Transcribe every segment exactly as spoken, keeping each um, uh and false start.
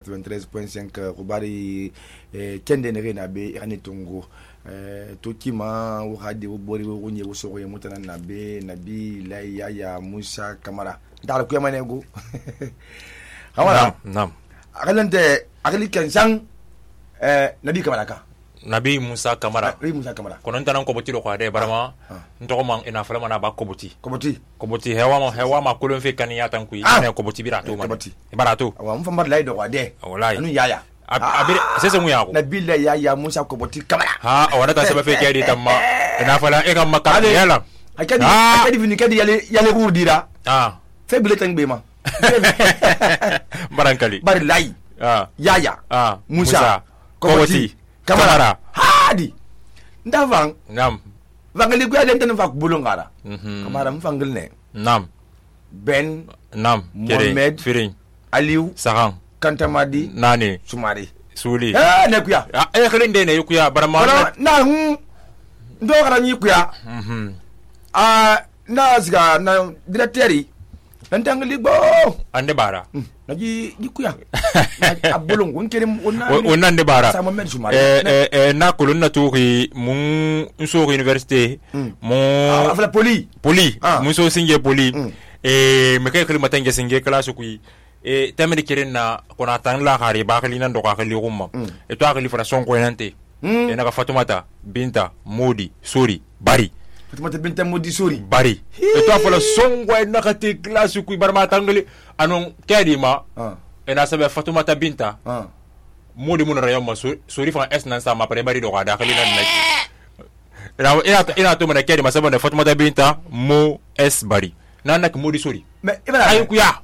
quatre-vingt-treize point cinq kubari kende ne na be ani tongo to kima wo hade wo bori wo nye wo sogo mutana na be nabi la yaya Musa Kamara dal ko yamane go hawala nam akalante akali kansan eh nabi Kamara ka nabi Musa Kamara nabi Musa Kamara kono ntanan ko boti do ko ade barama ntoko man ina fala mana ba ko boti ko boti ko boti hewa ma hewa ma kulun fe kan ya tan ku ina ko boti birato ma barato awa mu famar lay do ko ade wallahi anu yaya abire sese mu ya ko nabi la yaya Musa ko boti Kamara ha awada ta sebe fe kedi tamma ina fala e kam makka yala akadi akadi vini kadi yale yale urdira ah fe bile tan be ma barankali bar lay ah yaya ah Musa ko boti Kamara hadi ndavang nam vangali ku yale tan fa ku bulungara mhm Kamara mfangil ne nam Ben nam Mohamed Firin Aliou Sahan Kantamadi nani Sumari Suli eh ne kuya ah e khilinde ne yukuya barama Bara na hu ndo gara ni kuya mhm ah na ziga na directeur nan tangali bo ande bara naji dikuya abulung won kere wonna wonna ande bara sama med Sumari eh eh na kulun na tuki mun so université mon afla poli poli mun so singe poli eh me kay khilma tange singe classe ku e tamedi keren na kona tan la khari ba khali nan do ka khali rumma e to khali fara son ko nante e na ka Fatumata Binta Modi Sori Bari Fatumata Binta Modi Sori Bari e to fara son ko na ka te classe ku barma tangali anon kedi ma e na sabe Fatumata Binta Modi mun rayo ma Sori fa es nan sa ma pare bari do ka da khali nan na ina ina ina to mana kedi ma sabe Fatumata Binta Mo es Bari nan nak Modi Sori me ibara ay ku ya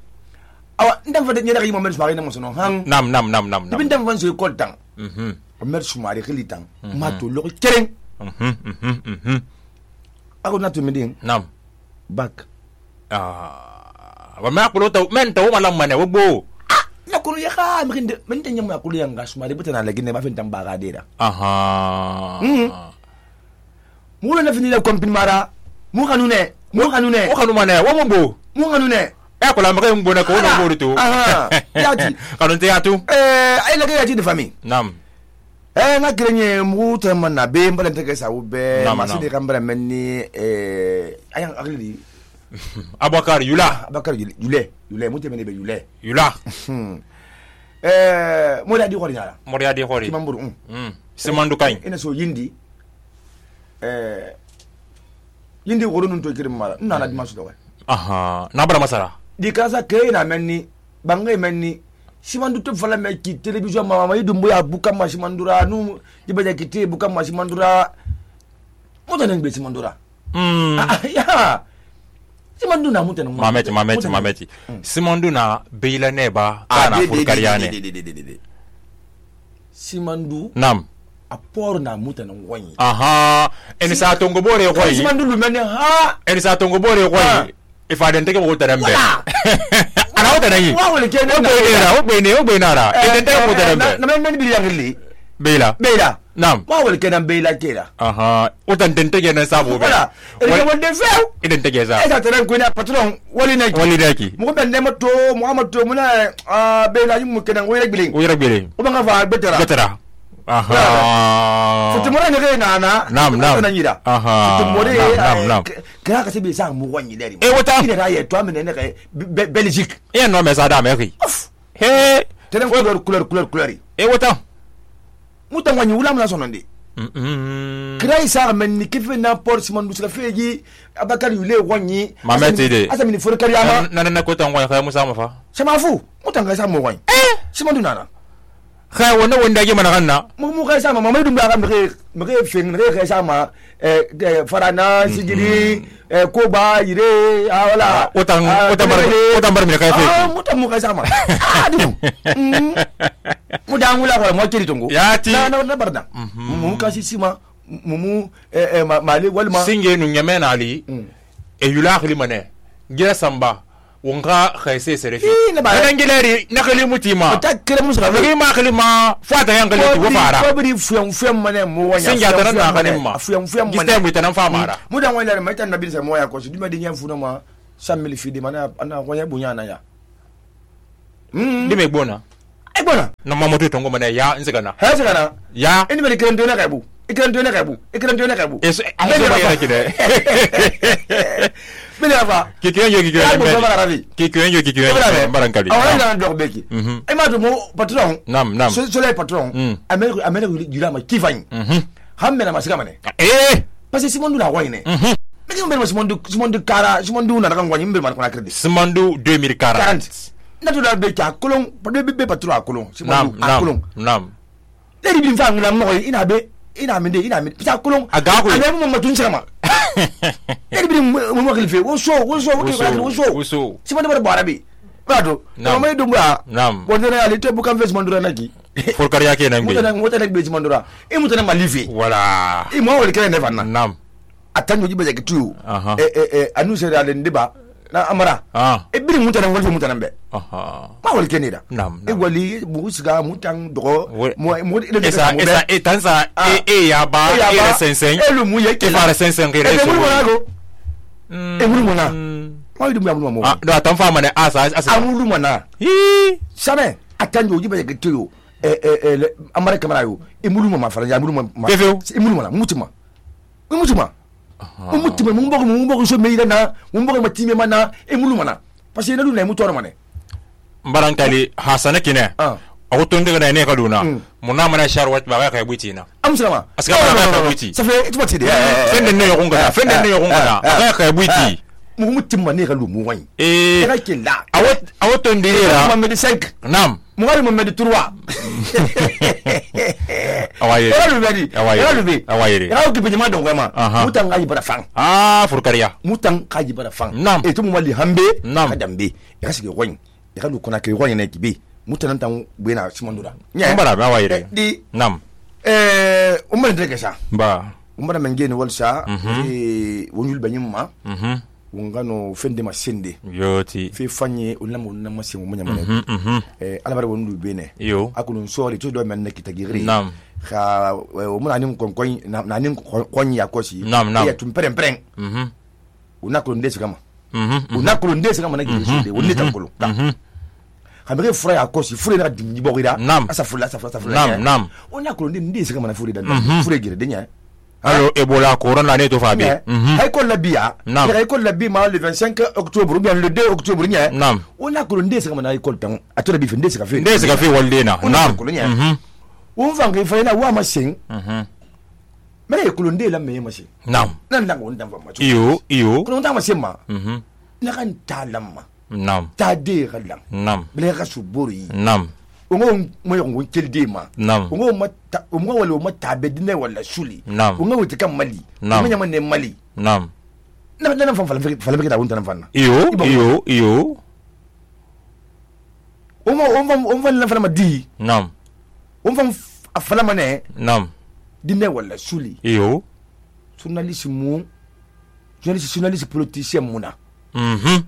awa ndam fa de nyara yi Mohamed Sumari na mo sono han nam nam nam nam nam ndam fan so ko tang mhm Mohamed Sumari khili tang ma to lo kereng mhm mhm mhm ako na to medin nam back ah wa ma ko to men to ma lam mane wo bo na ko ya ka mi kinde men tan nyam ko yang Sumari butana la gine ma fen tam baga dira aha mu na fini la kompin mara mu kanune mu kanune wo kanu mane wo mo bo mu kanune e ko la ma kay mbona ko no bo to aha yati kanu te atu eh ay la ga yati de famille nam eh na grenye mu ta man na be mbala te ka sa u be Nam, ma nam. se de kambara menni eh ayang agli Abakar Yula Abakar Yule Yule mu te mene be Yule Yula eh mo da di ko nyala Moria di hori ti mamburu mm semandu kay ina so yindi eh yindi woro nun to kirim mala na na di masu do aha na bara masara di kasa ke na menni bangay menni simandu to fala me ki television mama mai dumbu ya buka ma simandura nu dibaja kiti buka ma simandura mutanen be simandura mm ah ya simandu na mutanen mameti mameti mameti simandu na beila neba kana furkariane simandu nam apor na mutanen wani aha en sa tongo bore ko yi simandu lu menne ha en sa tongo bore ko yi ifa den tege ko tarambe ana o tanayi wa wala ke o be na o be ne o be na ra en den tege ko tarambe na men men bi yangli beila beila nam wa wala ke nan beila kera aha o tan den tege na sabo be wala e wonde few iden tege za e ta teren ko na patron wali na wali daki mo ben ne mato Muhammad to muna a beila yimu kenan wo rek bilin o yara bele o banga fa betara betara aha futumore ne ga nana nam nam na nyira aha futumore nam nam kra ka se be sa mu wanyi deri e wota ina ra ye to amene ne Belgique e no me sa da me ri he teren couleur couleur couleur couleur e wota mutan wanyi wula muna sonande mm kra isa men ni kefe na port simon dusra feji Abakar Yule wanyi mameti de asa mini for kariama nana na ko tan wa khay musa mafa sama fu mutan ga sa mu wanyi eh simon dunana khay wona wonda ge mana kanna mu mu ga sa ma mamadu mba ga mre mre feng mre ga sa ma eh farana sigiri eh ko ba yire wala otan otan bar otan bar mi kay fe ah mutan mu ga sa ma ah du mu da ngula ko mo kiri tongo yati na na barda mu ka si sima mu mu eh mali walma singe nu nyame na ali e yula khili mane gira samba wonga khaise serefi na ba nan gileri na khali mutima ta kire musu ga ngi ma khali ma fata yang khali tu fara ko bri fuyan fuyan mane mu wanya singa tan na khali ma fuyan fuyan mane giste mu tan fa mara mu dan wala mai tan nabi sa mo ya ko su dima din yan funa ma cent mille fidi mana ana wanya bunya na ya mm dime bona e bona na mamoto tongo mana ya nzigana ha nzigana ya ini bali kiran dona kaibu ikiran dona kaibu ikiran dona kaibu eso aso ba yara kide bele afa ki kiran yo ki kiran ki kiran yo ki kiran barankali awala na dog beki e ma to mo patron nam nam so so le patron amel amel jira ma kifany hamme na masika mane eh parce que simondu la wayne mais on be simondu simondu kara simondu na kan wani mbe man kona credit simondu deux mille quarante na to da be ka kolon be be patron a kolon simondu a kolon nam le di bin fa ngula mo ina be ina minde ina minde pita kolon aga ko ale mo mo tun sama le di mo mo khalife wo so wo so wo so wo so simondu ba barabi bado no may dumba nam wondena ali te bukan face mandura naki for kariya ke nan be mutana mutana be mandura e mutana malifi wala e mo wol kene ne fanna nam atanjo jibe ke tu e e e anu sere ale ndiba na amara e biri mutana wol mutana be aha ma wol kene da nam e wali busiga mutan dogo mo mo esa esa e tansa e e ya ba e sensen e lu mu ye ke fara sensen ke reso e mu na go e mu na ma yidu mu mu ah do atan fa mane asa asa amulu mana hi sabe atanjo jibe ke tu e e amara kamera yo e mulu ma fara ya mulu ma e mulu ma mutima e mutima o mutima mu mbogo mu mbogo so meira na mu mbogo ma time mana e mulu mana parce que na lu na mu toro mane mbarankali hasana kine o to ndega na ne kaduna muna mana sharwat ba ka buti na amsalama aska ba ka buti ça fait tu vois fende ne yo ngana fende ne yo ngana ba ka buti mu mutima ne ka lu mu wani eh ka ke la awot awot ndira ma medi cinq nam mu ngari mo medi trois awaye era lu bedi era lu be awaye era ko be ma don ma mutan ga yibara fang ah furkariya mutan ka yibara fang nam e to mu mali hambe ka dambe ya sige wani ya ka lu kona ke wani ne kibe mutan tan buena simondura nya mbara ba awaye di nam eh umma ndege sa ba umma mengene walsa e wonul banyimma mhm wongano fende masende yoti fe fanye ulamo na masi mo nyamane eh alabara wonu bene yo akunu sori to do men na kitagiri nam kha o mun anin kon kon na nin kon ya kosi ya tum perem perem mhm unakulu ndesi kama mhm unakulu ndesi kama na gidi wonni tankulu mhm hamere fura ya kosi fure na dimji bogida asa fula asa fula nam nam unakulu ndesi kama na fure da fure gire denya allo ebola corona ne to fabi hay ko labia hay ko labi ma le vingt-cinq octobre bien le deux octobre nya nam on a ko ndese kama na école tan atola bi ndese ka fe ndese ka fe waldena nam mhm on va ngi fa na wa ma sing mhm mais ko ndé la me ma sing nam nan la ngon dan fa ma iyo iyo ko ndam ma sing ma mhm na kan talamma nam ta de galam nam ble ga su bori nam ongo mo yongo keldema nam ongo mata ongo wala mata bedine wala suli nam ongo wuti kam mali nam nyama ne mali nam na na fam fala fala beka wonta na fanna iyo iyo iyo ongo ongo ongo la fala madi nam ongo afala mane nam dine wala suli iyo journaliste mu journaliste journaliste politicien muna mhm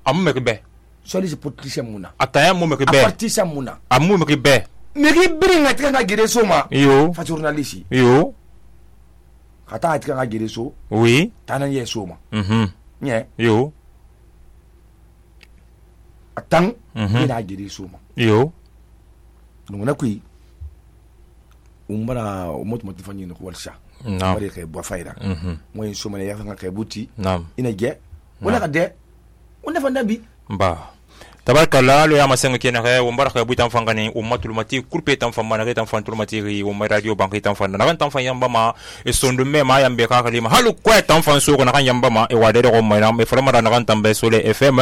amu mekbe journaliste politicien muna ataya mu mekbe politicien muna amu mekbe meri bringa tika gere soma iyo fa journaliste iyo kata tika gere so oui tanan ye soma mhm nye iyo atang ina gere soma iyo nunguna kui umbara umoto motifanyi no walsha nam bari kay bo fayda mhm moy soma ne yafa kay buti nam ina ge wala ka de wala fa ndabi ba tabarkalla lo ya masenga kena kay wo mbara kay butan fangani ummatul mati kurpe tan famana kay tan fantul mati ri wo radio banki tan fanda na tan fan yamba ma e sondu me ma yambe ka kalima halu ko tan fan so ko na kan yamba ma e wade ko ma na me frama na kan tambe sole fm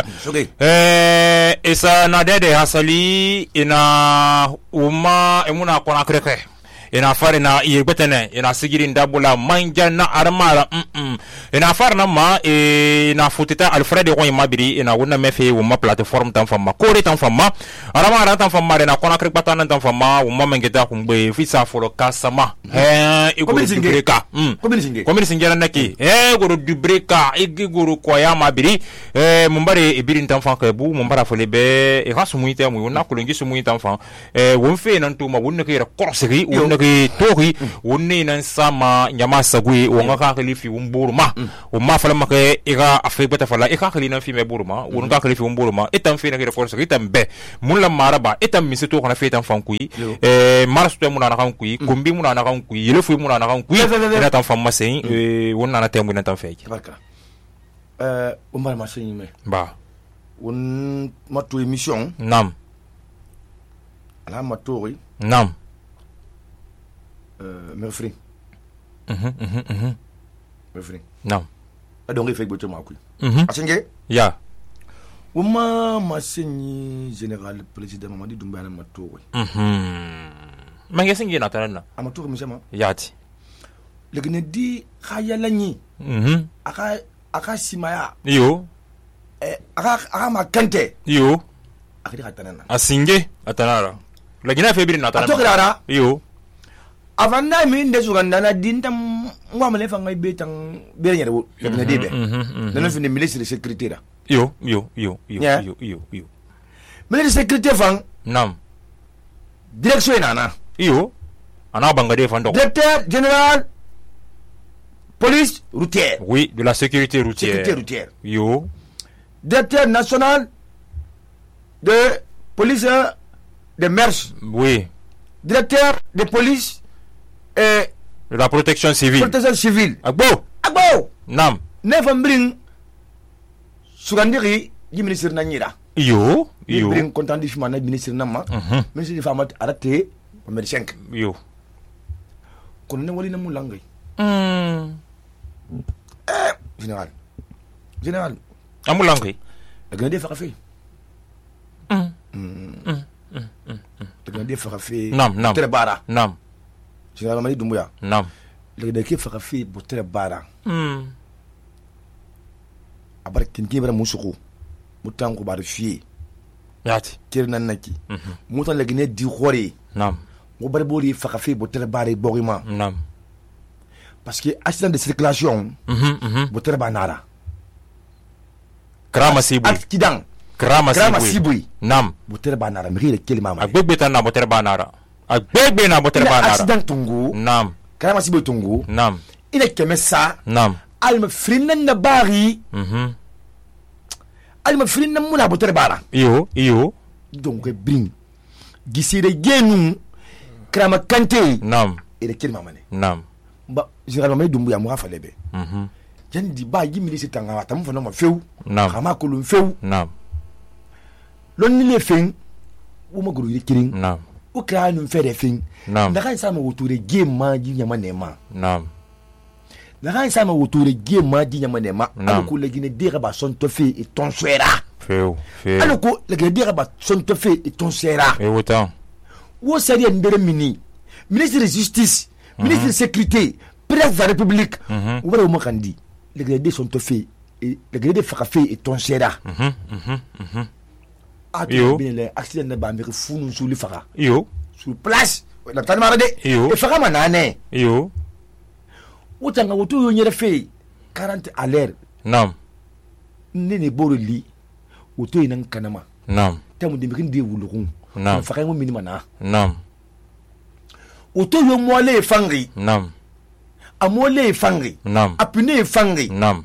eh isa na dede hasali ina umma emuna kona kreke ina fari na yegbetene ina sigiri ndabula manja na armara mm ina fari na ma ina futita alfred ko mabiri ina wona mefe wo ma platform tan fama kore tan fama armara tan fama na kona krek patana tan fama wo ma mengeta kumbe fisa folo kasama eh iguru dubreka mm komini singera naki eh iguru dubreka iguru ko ya mabiri eh mumbare ibiri tan fa kebu mumbara folebe e rasu muite mu na kulungi su muite tan fa eh wo mfe nan tuma wonna kira korseri wonna ke tori wonne nan sama nyama sagwe wonga ka khalifi umburuma o ma fala make ira afrika ta fala e ka khali nan fi me buruma won ka khalifi umburuma etam fi na ke force etam be mun la maraba etam mi se to kana fe tan fankui e mars to mun na kan kui kumbi mun na kan kui yele fu mun na kan kui na tan fam masen e won na temu na tan fe barka euh o mal masen me ba won matu émission nam ala matori nam euh merfri mhm mhm mhm merfri nam adonge fe gboto makui mhm asenge ya uma masenyi général président Mamadi Doumbouya na matori mhm mange singi na tanana amatori misema yati legene di khayalanyi mhm aka aka simaya yo eh aka aka makante yo akidi katanana asinge atanara lagina febiri na tanana atokirara yo avanda mi ndesu gandana dinta ngwamale fanga betang berenya de legene debe nana fini ministre de sécurité la yo yo yo yo Yeah. yo yo yo ministre de sécurité fang nam direction inana yo ana bangade fando directeur général police routière oui de la sécurité routière sécurité routière yo directeur national de police de mers oui directeur de police et de la protection civile protection civile agbo agbo nam nefa mbring sugandiri di ministre na nyira yo di yo mbring content di fima na ministre na ma mhm ministre di fama arate o mer cinq yo kono ne wali na mulangay mm général général amulangi da gën a dee faxa fee mm da gën a dee faxa fee nam nam tere baara nam général Mamadi Doumbouya nam léegi da ke faxa fee bo tere baara mm a bara kin kin bara musuku mu tan ko bara fiye yati kir nan naki mhm mu tan léegi ne di xore nam mu bari bori faxa fee bo tere baara borima nam parce que accident de circulation mhm mhm bo tere ba nara krama sibu accident krama krama sibu sibui nam bo tere ba nara mi re kelima ma agbegbe tan na botere banara agbegbe na botere banara accident tungu nam krama sibui tungu nam ina keme sa nam alma frinan na bari mhm alma frinan muna bo tere bara iyo iyo donc bring gisire genu krama kante nam ere kelima mane nam ba général Mamadi Doumbouya mu hafa lebe mhm jan di ba yi ministre tanga tam fa no ma few nam kama ko lu few nam lon ni le fen wo ma guru kirin nam o kra nu fere fen nam da kan sa ma woture game ma ji nyama ne ma nam da kan sa ma woture game ma ji nyama ne ma Naam. an ko le gine dira ba son to fe et ton suera feu feu an ko le gine dira ba son to fe et ton suera e wotan wo sari ndere mini ministre de justice ministre de sécurité président de la république mhm wo bara mo kandi le gine de son to fe et le gine de fa fe et ton suera mhm mhm mhm a Yo. to bien le accident na ba mi funu suli faka iyo sur place la tani mara de Yo. e faka manane iyo utanga wotu yo nyere fe quarante à l'heure nam ne ne boro li wotu ina kanama nam tamu de mikin de wulugun Naam. faka mo minima na nam wotu yo mole fangi nam amole fangi nam apune fangi nam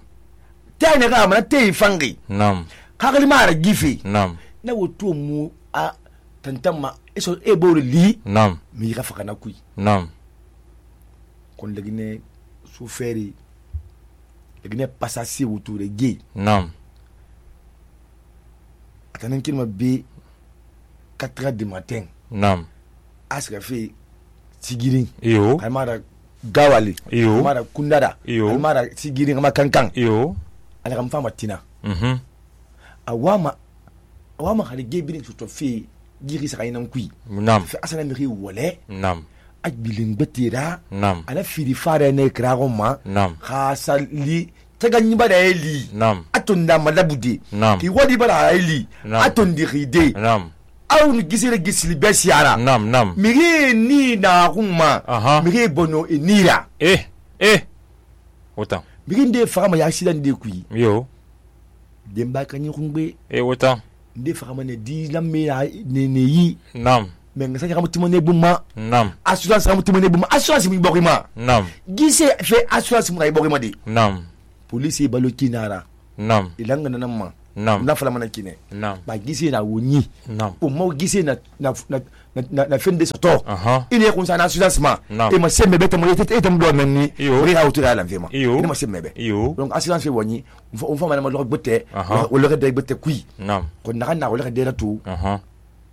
tane ga mana te fangi nam kakali mara gifi nam na wotu mu a tantama eso e boro li nam mi ga faka na kui nam kon legine su feri legine pasasi wotu re ge nam atanan kilma be quatre heures du matin nam aska fe sigirin iyo almara gawali Iyo. almara kundada Iyo. almara sigirin ama kankan iyo ala kam fama tina mhm awama awama hali gebirin to fe giri sa kainan kui nam fe asana mi wole nam ajbilin betira nam ala firi fare ne krago ma nam khasali taganyi bada eli nam atunda malabudi Naam. ki wadi bada eli Naam. atondi ride nam aw ni gisire gisili besiara nam nam miri ni na kuma Aha. miri bono enira eh eh wotan miri nde fama ya accident de kui iyo demba kanyi kungbe e wotan nde fama ne di lamme ya ne ne yi nam mais ngasa ka mutimone buma nam assurance ka mutimone buma assurance mi bokima nam gise fait assurance mu bokima di nam police balo kinara nam ilanga nanama nam na fala mana kine nam ba gise na woni nam o mo gise na na na na fin de soto aha ine ko sa na assurance ma Nam. e ma sembe beta mo yete etam do menni Iyo. ri ha utura la vema Iyo. ine ma sembe be Iyo. donc assurance woni on fa mana ma lo botte Aha. o lo de botte kui nam ko na na o lo de la tu aha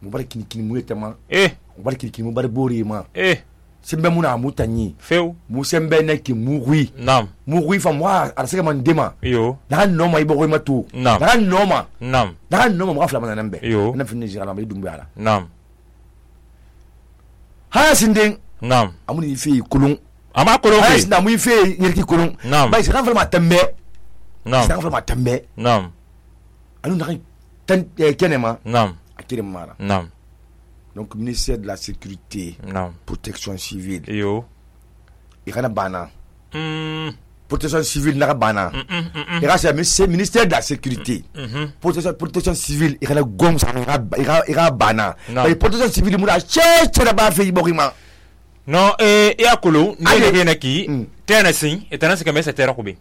mu bar kini kini mu yetama eh mu bar kini kini mu bar bori ma eh sembe mu na mu tanyi feu mu sembe na ki mu hui nam mu hui fa mo ara sega man dema iyo na no ma ibo ma tu Nam. na no ma nam na no ma mo afla mana nambe Iyo. na finni jira ma dumbu ala nam ha sinding nam amuni fi kulun ama kolon ha fe sinda mu fi yirki kulun Nam. ba sira fa ma tambe nam sira fa ma tambe nam anu na tan kenema nam akire mara nam donc ministère de la sécurité nam protection civile iyo ikana bana mm protection civile na bana et là c'est ministère de la sécurité mhm protection protection civile ikana gom sa ira ira bana Non. mais protection civile mu da che che da ba fe bokima no eh ya kolo Allez. ne ne naki Mm. tena sin etana se kamesa tera kubi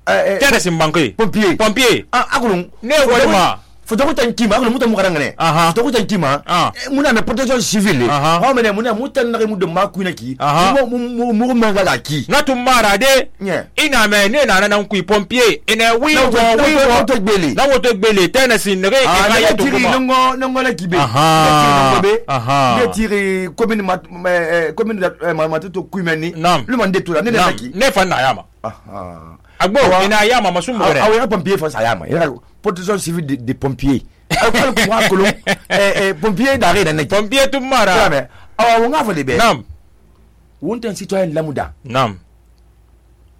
eh tena sin banke pompier pompier ah akulun ne walima foto ko tan kima akulun muta mu karangane Aha. foto ko tan kima Ah. muna me protection civile Aha. ha mena muna mutan na mu de makuna ki Aha. mu mu mu manga la ki na tumara de nye ina me ne na na kui pompier ina wi na wo wi wo wo to gbele na woto gbele tena sin ne e ah ka na ya to tiri kuma nongo nongo la kibe Aha. Aha. ne tiri commune mat eh, commune de matuto kuimeni Nam. le mande tout la ne Nam, na ki ne fa na yama ah agbo ina yama masumbo ah re ah pompier fa sayama ira protection civile des de pompiers al ko wa kolon eh eh pompier d'arrêt na ki pompier tumara mais ah wonga fa libe nam wonten citoyen lamuda nam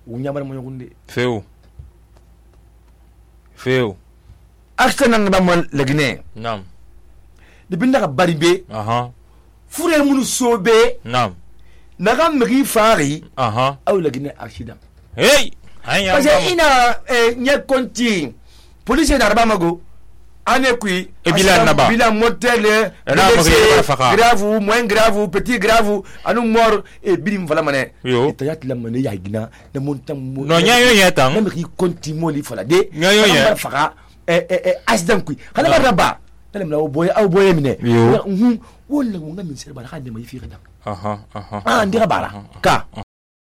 wunya mo yokunde feu feu action nan ba mo lagne nam de binda ka baribe aha furel munu sobe nam na ga mri fari aha aw lagne accident hey anya parce que ina eh, nye konti police na raba mago ane kui E bilan na ba? bilan motel E na mago yeba faka. grave moins grave petit grave anu mort e birim fala mane Yo. tayat la mane ya gina na montam mo no nya yo yetang na mri konti mo li fala de Nya yo ye. na faka e e e accident kui kala ba raba na mla o boy aw boy mine Yo. mhm wala mo ngamin serba ka de mai fi kada aha aha ah ndira bara ka